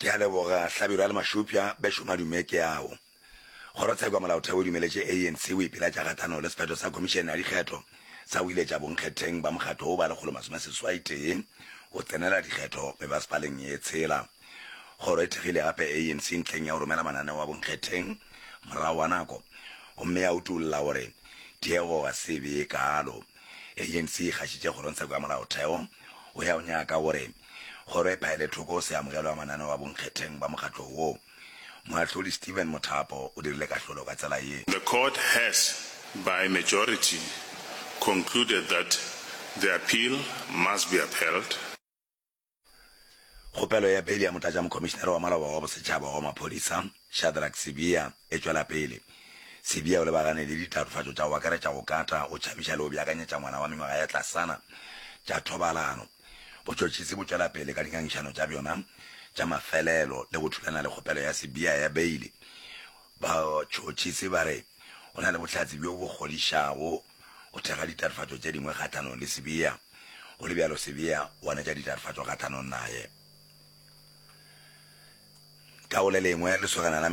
Ke a leboga, Hlabirwa le Mašupša, bešo madume ke ao. Kgorotsheko ya Molaotheo e dumeletše ANC go ipilatša kgahlanong le sephetho sa Khomišene ya Dikgetho sa go iletša bonkgetheng ba mokgatlo wo ba 181 go tsenela dikgetho mebasepaleng ye tshela. Kgoro e thekgile gape ANC ntlheng ya go romela mananeo a bonkgetheng morago ga nako gomme ya utolla gore tiego ga se be ye kaalo. ANC e gašitše Kgorongtsheko ya Molaotheo go ya go nyaka gore kgoro e phaele thoko go se amogelwe ga mananeo a bonkgetheng ba mokgatlo wo. Moahlodi Steven Mothapo o dirile kahlolo ka tsela ye. The court has, by majority, concluded that the appeal must be upheld. Kgopelo ya beili ya Motlatšamokhomišenare wa Maloba wa Bosetšhaba wa Maphodisa, Shadrack Sibiya, e tšwela pele. Sibiya o lebagane le ditatofatšo tša go akaretša go kata, go tšhabiša le go beakanyetša ngwana wa mengwaga ya tlasana tša thobalano. Botšhotšhisi bo tšwela pele ka dingangišano tša bjona tša mafelelo le go thulana le kgopelo ya Sibiya ya beili. Batšhotšhisi ba re go na le bohlatse bjo bo kgodišago go thekga ditatofatšo tše dingwe kgahlanong le Sibiya. Go le bjalo, Sibiya o ganetša ditatofatšo kgahlanong naye. Ka go le lengwe, lesogana la.